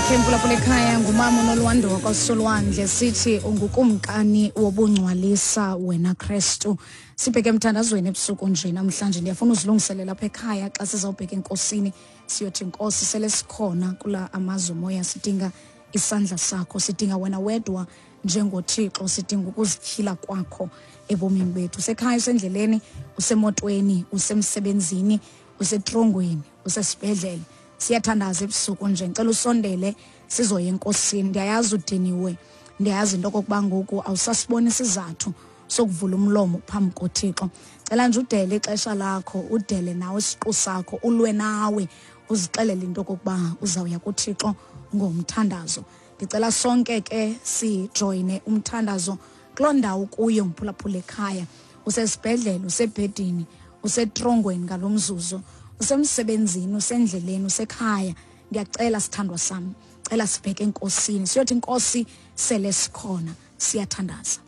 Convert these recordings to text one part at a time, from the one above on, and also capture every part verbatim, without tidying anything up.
Yakhe mphulaphula ekhaya ngumama uNolwando wakwaSolwandle, sithi ungukumkani wobungcwalisa wena Kristu. Sibheke emthandazweni ebusuku nje namhlanje. Ndiyafuna uzilungiselela apha ekhaya xa sizawubheka enkosini, siyothi Nkosi, sele sikhona kula amazwe moya, sidinga isandla sakho, sidinga wena wedwa njengoThixo, sidinga ukuzityhila kwakho ebomini bethu. Usekhaya, usendleleni, usemotweni, usemsebenzini, usetrongweni, usesibhedlele, siyathandaza ebusuku nje. Ngicela usondele sizoya enkosini. Ndiyayazi udiniwe, ndiyayazi into okokuba ngoku awusasiboni isizathu sokuvula umlomo phambi koThixo. Cela nje udele ixesha lakho, udele nawe isiqu sakho, ulwe nawe, uzixelele into okokuba uzawuya kuThixo ngomthandazo. Ndicela sonke ke sijoyine umthandazo kuloo ndawo kuyo mphulaphula ekhaya, usesibhedlele, usebhedini, usetrongweni ngalo mzuzu, usemsebenzini, usendleleni, usekhaya. Ndiyacela sithandwa sam, cela sibheke enkosini, siyothi Nkosi, sele sikhona, siyathandaza.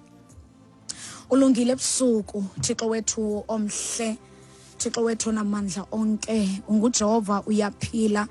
Ulungile ebusuku Thixo wethu omhle, Thixo wethu onamandla onke, unguJehova, uyaphila.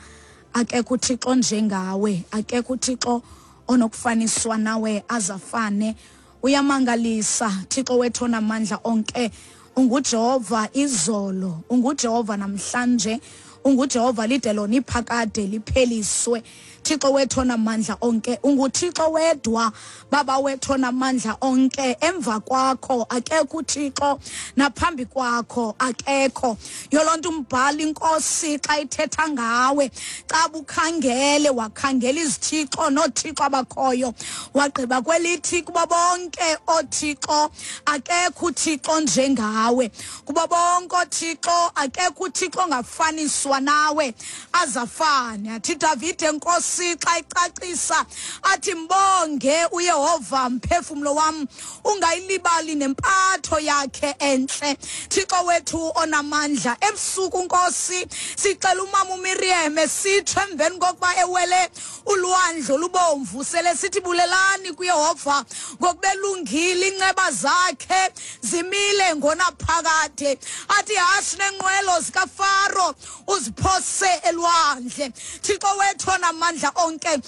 Akekho uThixo njengawe, akekho uThixo onokufaniswa nawe azafane. Uyamangalisa Thixo wethu onamandla onke, unguJehova izolo, unguJehova namhlanje, unguJehova lide lona iphakade lipheliswe. Thixo wethu onamandla onke, unguThixo wedwa, Baba wethu onamandla onke. Emva kwakho akekho uThixo, naphambi kwakho akekho. Yoloo nto umbhali inkosi xa ithetha ngawe, xa bukhangele wakhangela izithixo noothixo abakhoyo, wagqiba kwelithi kubo bonke oothixo akekho uThixo njengawe, kubo bonke oothixo akekho uThixo ongafaniswa nawe azafane. Athi Davide Nkosi xa icacisa athi mbonge uYehova mphefumlo wam, ungayilibali nempatho yakhe entle. Thixo wethu onamandla, ebusuku Nkosi sicela umama uMiriam sitsho emveni kokuba ewele ulwandle olubomvu, sele sithi bulelani kuYehova ngokubelungile, inceba zakhe zimile ngonaphakade. Athi hashi nenqwelo zikaFaro uziphose elwandle. Thixo wethu onamandla onke,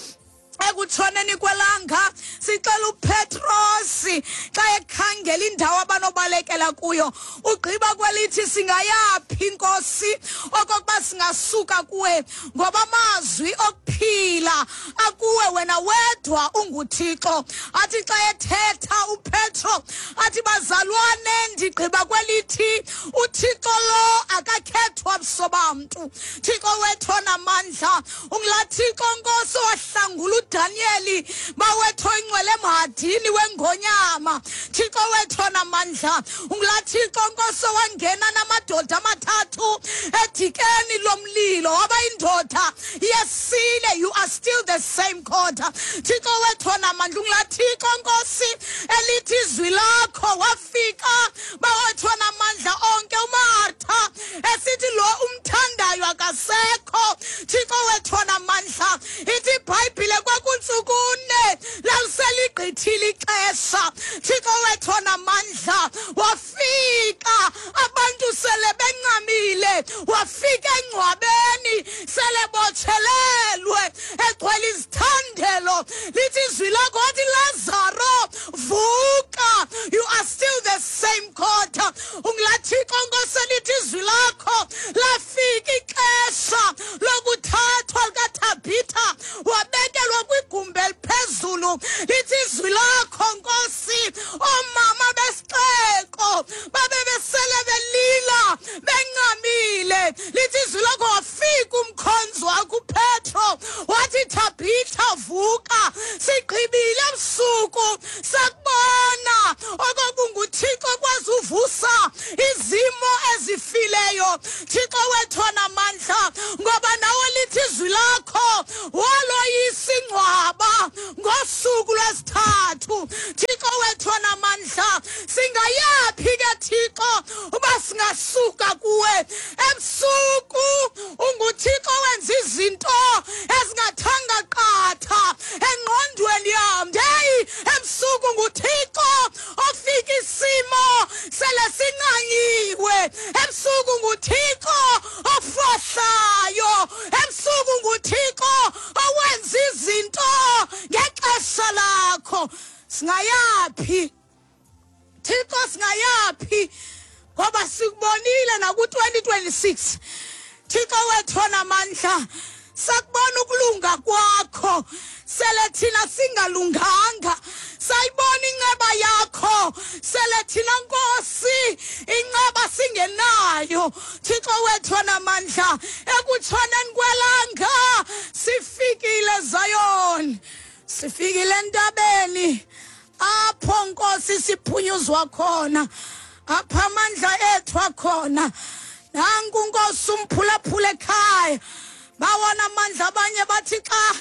ekutshoneni kwelanga sicela uPetrosi xa ekhangela indawo abanobalekela kuyo, ugqiba kwelithi singayaphi Nkosi okokuba singasuka kuwe, ngoba amazwi okuphila akuwe wena wedwa unguThixo. Athi xa ethetha uPetro athi bazalwane, ndigqiba kwelithi uThixo lo akakhethwa buso bamntu. Thixo wethu onamandla, ungulaa Thixo Nkosi owahlangula uDanieli bawethu oyingcwele emhadini wengonyama. Thixo wethu onamandla, ungulaa Thixo Nkosi owangena namadoda amathathu edikeni lomlilo, waba yindoda yesine. You are still the same God. Thixo wethu onamandla, ungulaa Thixo Nkosi elithi izwi lakho wafika bawethu onamandla onke uMartha esithi lo umthandayo akasekho. Thixo wethu onamandla, ithi iBhayibhile kwakuntsukune laliseligqithile ixesha. Thixo wethu onamandla, wafika abantu sele bencamile, wafika engcwabeni sele botshelelwe egcwele izithandelo. Lithi izwi lakho wathi Lazaro vuka. You are still the same God. Ungulaa Thixo Nkosi elithi izwi lakho lafika ixesha lokuthathwa likaThabitha wabekelwa kwigumbi eliphezulu. Lithi izwi lakho Nkosi oomama besixeko babe besele belila bencamile. Lithi izwi lakho wafika umkhonzi wakho uPetro wathi Thabitha vuka, sigqibile ebusuku sakubona okokunguThixo okwazi uvusa izimo ezifileyo. Thixo wethu onamandla, ngoba nawe lithi izwi lakho waloyisa ingcwaba ngosuku lwesithathu. Thixo wethu onamandla, singayaphi ke Thixo uba singasuka kuwe ebusuku? UnguThixo wenza izinto ezingathanga qatha engqondweni yam. Hey, ebusuku nguThixo ofika isimo sele sincanyiwe. Ebusuku nguThixo ofohlayo. Ebusuku nguThixo owenza izinto Singayaphi Thixo, singayaphi ngoba sikubonile naku twenty twenty-six. Thixo wethu onamandla, sakubona ukulunga kwakho sele thina singalunganga, sayibona inceba yakho sele thina Nkosi inceba singenayo. Thixo wethu onamandla, ekutshoneni kwelanga sifikile Zion, sifikile entabeni apho Nkosi siphunyuzwa khona, apha amandla ethu akhona. Nanku Nkosi umphulaphula ekhaya, bawona amandla abanye bathi xa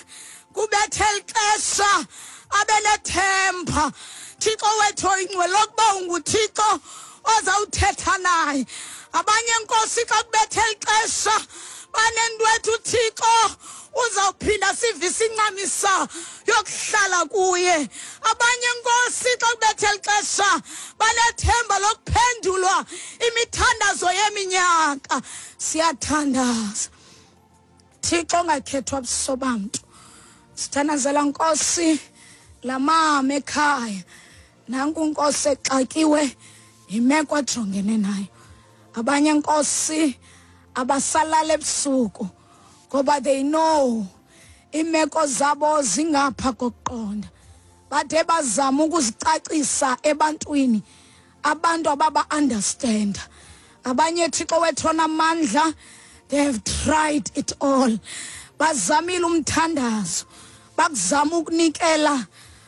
kubethe ixesha abenethemba. Thixo wethu oyingcwele, lokuba unguThixo ozawuthetha naye. Abanye Nkosi xa kubethe ixesha banento ethu Thixo uzawuphinda sivise incamisa yokuhlala kuye. Abanye Nkosi xa kubethe ixesha banethemba lokuphendulwa imithandazo yeminyaka. Siyathandaza Thixo ongakhethwa buso bamntu, sithandazela Nkosi lamama ekhaya. Nanku Nkosi exakiwe yimeko ajongene nayo. Abanye Nkosi abasalala ebusuku ngoba they know imeko zabo zingapha kokuqonda. Bathe bazama ukuzicacisa ebantwini, abantu ababa understand. Abanye Thixo wethu onamandla, they have tried it all. Bazamile umthandazo, bakuzama ukunikela,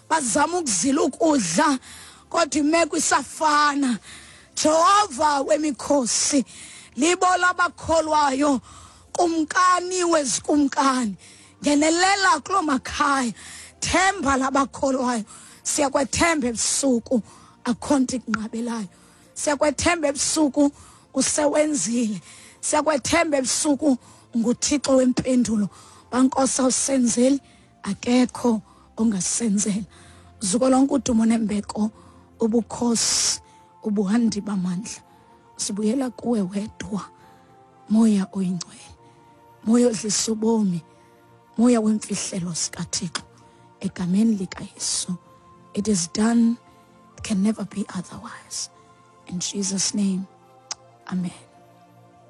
bazama ukuzila ukudla, kodwa imeko isafana. Jehova wemikhosi, libo labakholwayo, kumkani wezikumkani, ngenelela kulo makhaya, themba labakholwayo. Siyakwethemba ebusuku, akho nto ikunqabelayo. Siyakwethemba ebusuku, usewenzile. Siyakwethemba ebusuku, nguThixo wempendulo. Bankosi awusenzeli, akekho ongasenzela. Zuko lonke udumo nembeko, ubukhosi, ubuhandi bamandla, sibuyela kuwe wedwa, Moya oyingcwele, Moya odlisa ubomi, Moya wemfihlelo sikaThixo, egameni likaYesu. It is done, it can never be otherwise. In Jesus' name, amen.